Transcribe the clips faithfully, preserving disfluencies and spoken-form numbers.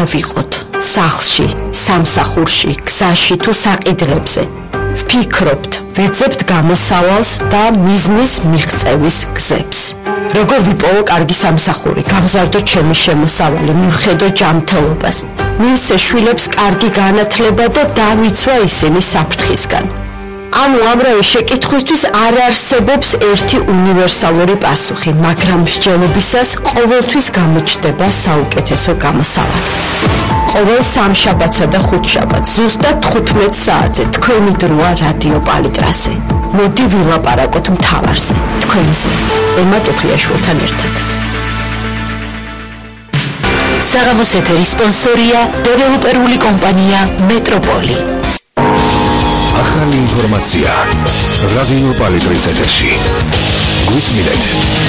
უნდა ვიყოთ სახლში, სამსახურში, გზაში თუ საყიდლებზე. ვფიქრობთ, ვეძებთ გამოსავალს და მიზნის მიღწევის გზებს. როგორ ვიპოვო კარგი სამსახური, გავზარდო ჩემი შემოსავალი, მივხედო ჯანმრთელობას, მივცე შვილებს კარგი განათლება და დავიცვა ისინი საფრთხისგან. ამ უამრავი შეკითხვისთვის არ არსებობს ერთი უნივერსალური პასუხი, მაგრამ მსჯელობისას ყოველთვის გამოჩნდება საუკეთესო გამოსავალი. ყოველ სამშაბათსა და ხუთშაბათს ზუსტად თხუთმეტ საათზე თქვენი დროა რადიო პალიტრაზე. მოდი ვილაპარაკოთ მთავარზე, თქვენზე, ემა ტუხიაშვილთან ერთად. საღამოს ეთერის სპონსორია დეველოპერული კომპანია მეტროპოლი. ახალი ინფორმაცია რადიო პალიტრის ეთერში. გვისმინეთ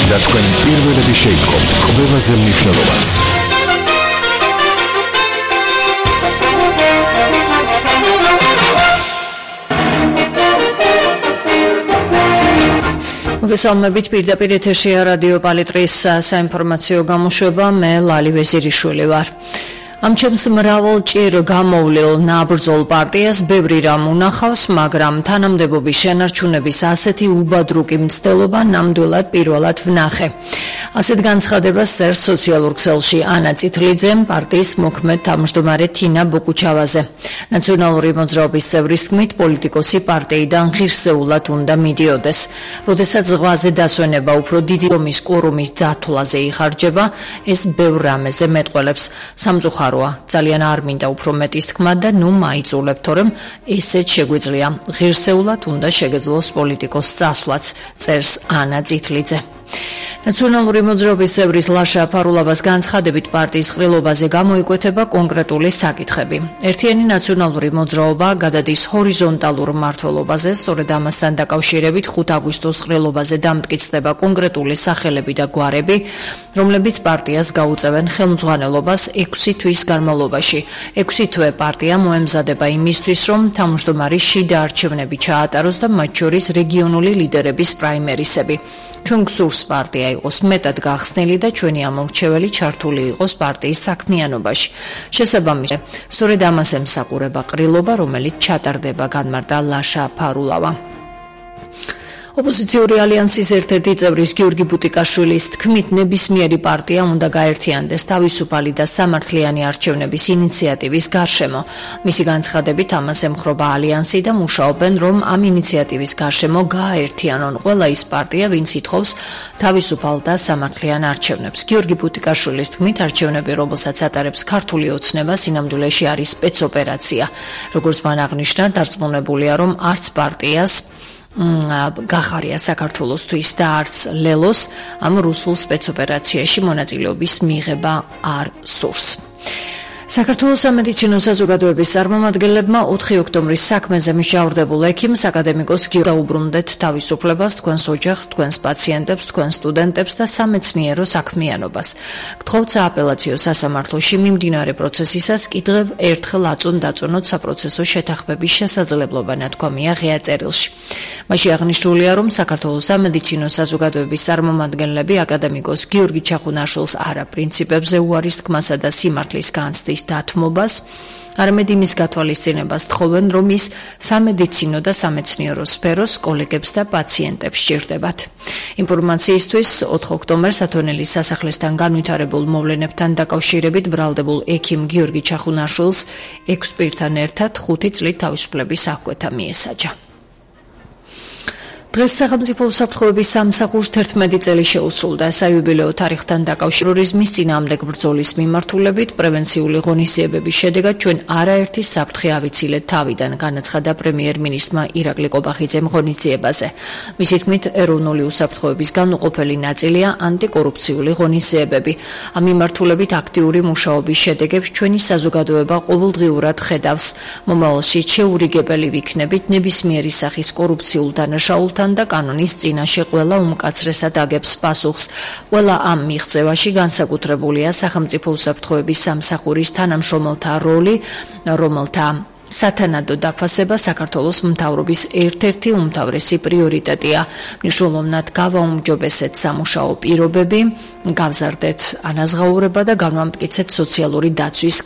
და თქვენ პირველები შეიტყობთ ყველაზე მნიშვნელოვანს. მოგესალმებით, პირდაპირ ეთერშია რადიო პალიტრის საინფორმაციო გამოშვება, მე ლალი ვეზირიშვილი ვარ. ამ ჩემს მრავალ ჭირ გამოვლილ ნაბრძოლ პარტიას ბევრი რამ უნახავს, მაგრამ თანამდებობის შენარჩუნების ასეთი უბადრუკი მცდელობა ნამდვილად პირველად ვნახე. ასეთ განცხადებას წერს სოციალურ ქსელში ანა წითლიძემ პარტიის მოქმედ თავმჯდომარე თინა ბოკუჩავაზე. ნაციონალური მოძრაობის წევრის თქმით, პოლიტიკოსი პარტიიდან ღირსეულად უნდა მიდიოდეს. როდესაც ზღვაზე დასვენება უფრო დიდი ომის კურუმის დათვლაზე იხარჯება, ეს ბევრ რამეზე მეტყველებს. სამწუხაროა, ძალიან არ მინდა უფრო მეტის თქმა და ნუ მაიწულებთ, თორემ ესეც შეგვიძლია. ღირსეულად უნდა შეგეძლოს პოლიტიკოს წასვლაც, წერს ანა წითლიძე. ნაციონალური მოძრაობის წევრის ლაშა ფარულავას განცხადებით პარტიის ყრილობაზე გამოიკვეთება კონკრეტული საკითხები. ერთიანი ნაციონალური მოძრაობა გადადის ჰორიზონტალურ მმართველობაზე, სწორედ ამასთან დაკავშირებით ხუთ აგვისტოს ყრილობაზე დამტკიცდება კონკრეტული სახელები და გვარები, რომლებიც პარტიას გაუწევენ ხელმძღვანელობას ექვსი თვის განმავლობაში. ექვსი თვე პარტია მოემზადება იმისთვის, რომ თავმჯდომარი შიდა არჩევნები ჩაატაროს და მათ შორის რეგიონული ლიდერების პრაიმერისები. ჩვენ გსურს პარტია იყოს მეტად გახსნილი და ჩვენი ამომრჩეველი ჩართული იყოს პარტიის საქმიანობაში. შესაბამისად, სწორედ ამას ემსახურება ყრილობა, რომელიც ჩატარდება, განმარტა ლაშა ფარულავა. ოპოზიციური ალიანსის ერთ-ერთი წევრის გიორგი ბუტიკაშვილის თქმით, ნებისმიერი პარტია უნდა გაერთიანდეს თავისუფალი და სამართლიანი არჩევნების ინიციატივის გარშემო. მისი განცხადებით ამას ემხრობა ალიანსი და მუშაობენ, რომ ამ ინიციატივის გარშემო გააერთიანონ ყველა ის პარტია, ვინც ითხოვს თავისუფალ და სამართლიან არჩევნებს. გიორგი ბუტიკაშვილის თქმით, არჩევნები, რომელსაც ატარებს ქართული ოცნება, სინამდვილეში არის სპეცოპერაცია. როგორც მან აღნიშნა, დარწმუნებულია, რომ არც პარტიას გახარია საქართველოსთვის და არც ლელოს ამ რუსულ სპეცოპერაციაში მონაწილეობის მიღება არ სურს. საქართველოს სამედიცინო საზოგადოების წარმომადგენლებმა ოთხი ოქტომბრის საქმეზე მსჯავრდებულ ექიმს აკადემიკოს გიორგი დაუბრუნდეთ თავისუფლებას, თქვენს ოჯახს, თქვენს პაციენტებს, თქვენს სტუდენტებს და სამეცნიერო საქმიანობას. გთხოვთ სააპელაციო სასამართლოში მიმდინარე პროცესისას კიდევ ერთხელ აწონ დაწონოთ საპროცესო შეთანხმების შესაძლებლობა, ნათქვამია ღია წერილში. მასში აღნიშნულია, რომ საქართველოს სამედიცინო საზოგადოების წარმომადგენლები აკადემიკოს გიორგი ჩახუნაშვილს არა პრინციპებზე უარის თქმასა და სიმართლის განცდის დათმობას, არამედ იმის გათვალისწინებას თხოვენ, რომ ის სამედიცინო და სამეცნიერო სფეროს კოლეგებს და პაციენტებს სჭირდებათ. ინფორმაციისთვის ოთხ ოქტომბერს ათონელის სასახლესთან განვითარებულ მოვლენებთან დაკავშირებით ბრალდებულ ექიმ გიორგი ჩახუნაშვილს ექვს პირთან ერთად ხუთი წლით თავისუფლების აღკვეთა მიესაჯა. დღეს სახელმწიფო უსაფრთხოების სამსახურს თერთმეტი წელი შეუსრულდა საიუბილეო თარიღთან დაკავშირებით წინააღმდეგ ბრძოლის მიმართულებით პრევენციული ღონისძიებების შედეგად ჩვენ არაერთი საფრთხე ავიცილეთ თავიდან, განაცხადა პრემიერ-მინისტრმა ირაკლი კობახიძემ ღონისძიებაზე. მისი თქმით, ეროვნული უსაფრთხოების განუყოფელი ნაწილია ანტიკორუფციული ღონისძიებები. ამ მიმართულებით აქტიური მუშაობის შედეგებს ჩვენი საზოგადოება ყოველდღიურად ხედავს. მომავალში შეურიგებელი ვიქნებით ნებისმიერი სახის კორუფციულ დანაშაულთან და კანონის წინაშე ყველა უმკაცრესად აგებს პასუხს. ყველა ამ მიღწევაში განსაკუთრებულია სახელმწიფო უსაფრთხოების სამსახურის თანამშრომელთა როლი, რომელთა სათანადო დაფასება საქართველოს მთავრობის ერთ-ერთი უმთავრესი პრიორიტეტია. მნიშვნელოვნად გავაუმჯობესეთ სამუშაო პირობები, გავზარდეთ ანაზღაურება და განვამტკიცეთ სოციალური დაცვის